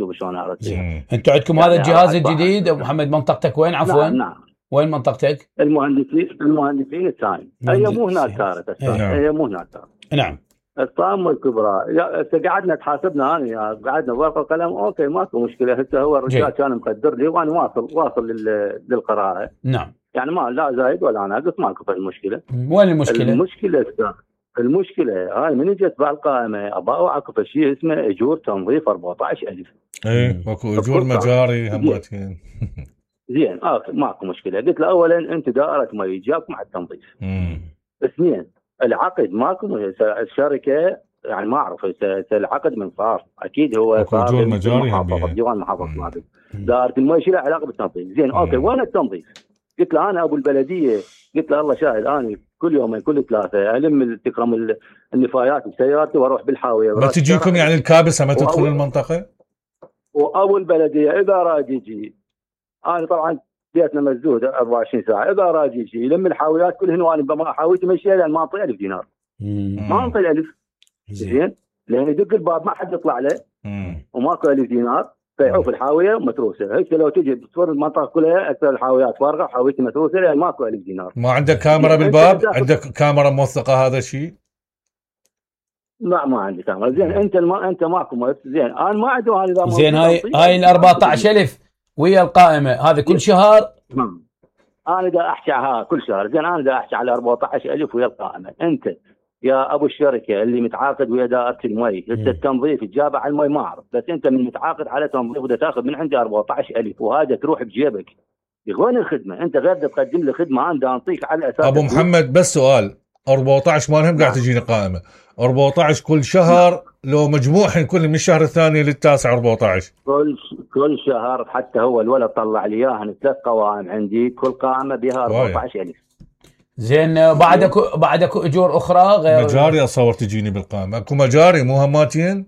شوف شلون ارتبها. انتم عندكم هذا الجهاز الجديد ابو محمد، منطقتك وين عفوا؟ نعم. وين منطقتك؟ المهندسين الثاني، هي مو هناك صارت، هي مو هناك صارت. نعم. الطامه الكبرى قعدنا تحاسبنا انا قعدنا ورقه وقلم، اوكي ماكو مشكله. هسه هو الرجال كان مقدر لي وانا واصل للقراءه. نعم. يعني ما لا زايد ولا ناقص، ماكو المشكله. وين المشكله؟ المشكله هاي من اجت بالقائمه ابى اوعكف شيء اسمه اجور تنظيف 14,000. ايه اكو اجور مجاري همتين. زين ماكو مشكله. قلت له اولا انت دائره مي جابكم على التنظيف. اثنين العقد ماكو، الشركه يعني ما اعرف العقد من صار اكيد هو صار اجور مجاري ديوان محافظه ماده دائره المي شو له علاقه بالتنظيف. زين اوكي وين التنظيف؟ قلت له انا ابو البلديه، قلت له الله شاهد انا كل يومين كل ثلاثه الم تكرم النفايات بسيارتي واروح بالحاويه. ما تجيكم يعني الكابسه ما تدخل المنطقه؟ وابو البلديه اذا راد يجي، انا طبعا بيتنا مسدود 24 ساعه، اذا راد يجي يلم الحاويات كلهن وانا بما حاويتي مشيها لان ما انطي 1000 دينار. ما انطي 1000. زين لان يدق الباب ما حد يطلع له وماكو 1000 دينار فيعوف الحاويه متروسه. هيك لو تجي تصور المنطقه كلها اكثر الحاويات فارغه، حاويتي متروسه لان ماكو 1000 دينار. ما عندك كاميرا بالباب؟ عندك كاميرا موثقه هذا الشيء؟ لا ما عندي كاميرا. زين انت ماكو. زين انا ما عندي هذا. زين هاي ال 14,000 ويا القائمه هذا كل شهر؟ انا دا احكي كل شهر. زين انا دا احكي على 14,000 ويا القائمه. انت يا ابو الشركه اللي متعاقد ويا دائره المي، انت التنظيف تجابه على المي ما اعرف، بس انت من متعاقد على تنظيف ودا تاخذ من عندي 14,000 وهذا تروح بجيبك. وين الخدمه؟ انت غير تقدم لي خدمه انا دا انطيك على اساس. ابو محمد بس سؤال، 14 مالهم قاعد تجيني قائمه 14 كل شهر لو مجموعهم كل من الشهر الثاني للتاسع 14 كل شهر. حتى هو الولد طلع لي اياها 3 قوائم عندي كل قائمه بها 14,000. زين بعدك اجور اخرى غير مجاري اصور تجيني بالقائمه؟ اكو مجاري مو هماتين؟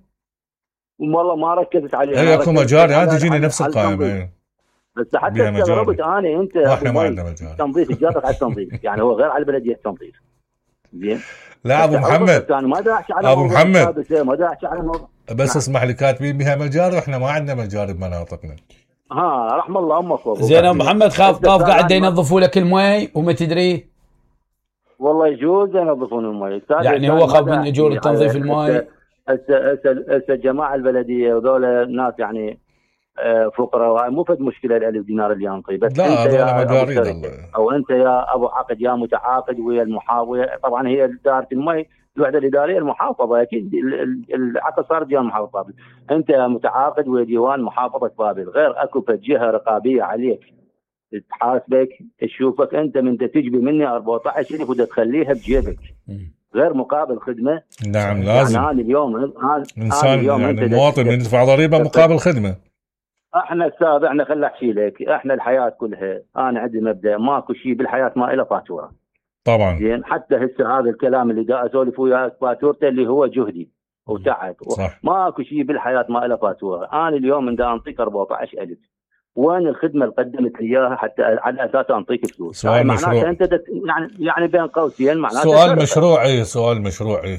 والله ما ركزت عليها. اي اكو مجاري انا تجيني نفس القائمه. بس حتى استغربت انا انت واحنا ما عندنا مجاري تنظيف جابك على التنظيف يعني هو غير على البلديه التنظيف. زين لا ابو محمد ابو محمد ما دا احكي على الموضوع بس اسمح لي كاتبين بها مجاري واحنا ما عندنا مجاري بمناطقنا. رحم الله امك. زين ابو محمد خاف قاعد ينظفوا لك المي وما تدري. والله يجوز ينظفون المي يعني هو خاف من اجور تنظيف المي. هسه جماعه البلديه وذول ناس يعني فقراء وهاي مو فد مشكله ال 1000 دينار اللي ينطي. بس لا انت يا مجاري او انت يا ابو عقد يا متعاقد ويا المحافظه. طبعا هي اداره المي الوحده الاداريه المحافظه اكيد العقد صار ديوان محافظه بابل. انت متعاقد ويا ديوان محافظه بابل، غير اكو جهه رقابيه عليك تحاسبك تشوفك انت من تجبي مني 14,000 ودا تخليها بجيبك غير مقابل خدمه. نعم لازم. يعني اليوم انسان يعني المواطن يدفع ضريبه مقابل خدمه. احنا السابع احنا خل احكي لك، احنا الحياه كلها انا عندي مبدا ماكو شيء بالحياه ما له فاتوره. طبعا. زين حتى هسه هذا الكلام اللي دا اسولف وياك فاتورته اللي هو جهدي وتعب. ماكو شيء بالحياه ما له فاتوره. انا اليوم دا انطيك 14,000 وين الخدمه اللي قدمت لي اياها حتى على اساس انطيك فلوس؟ سؤال مشروع. انت يعني بين قوسين معناته سؤال مشروعي.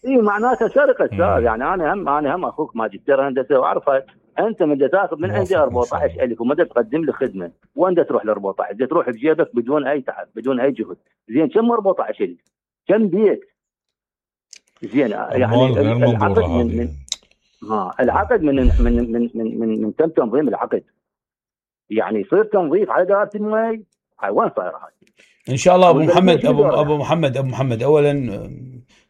اي معناته سرقه استاذ. يعني انا هم اخوك ماجستير هندسه واعرفها. انت من تاخذ من عندي 14,000 وما تقدم لي خدمه، وين تروح ل 14؟ تروح بجيبك بدون اي تعب بدون اي جهد. زين كم 14,000 كم بيت؟ زين يعني العقد من تم تنظيم العقد يعني يصير تنظيف على دائره المي. هاي وين صايره هاي؟ ان شاء الله ابو محمد ابو محمد اولا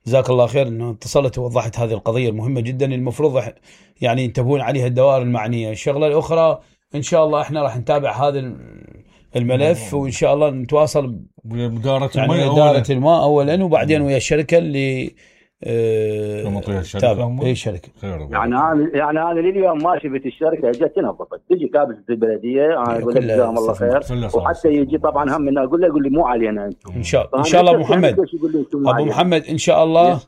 جزاك الله خير انه اتصلت ووضحت هذه القضيه المهمه جدا المفروض يعني ينتبهون عليها الدوائر المعنيه. الشغله الاخرى ان شاء الله احنا راح نتابع هذا الملف وان شاء الله نتواصل بإدارة يعني اداره الماء اولا وبعدين ويا الشركه اللي تابع اي شركه. يعني انا لليوم ماشي في الشركه اجت تنظفت تجي كابسه البلديه انا اقول لك جزاهم الله خير. وحتى يجي طبعا هم اقول لي مو علينا انتم. ان شاء الله ابو محمد ان شاء الله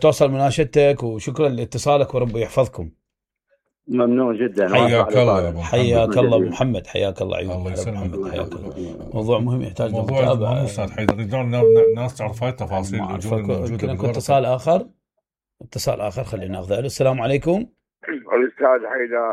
توصل مناشدتك وشكرا لاتصالك وربي يحفظكم. ممنون جدا. حياك الله حياك الله ابو محمد حياك الله عيونك. الله يسلمك. حياك الله. موضوع مهم يحتاج موضوع استاذ حيدر يريدون الناس تعرف هاي التفاصيل الموجوده بالغرفه. اتصال اخر خلينا ناخذه. السلام عليكم. الاستاذ حيدر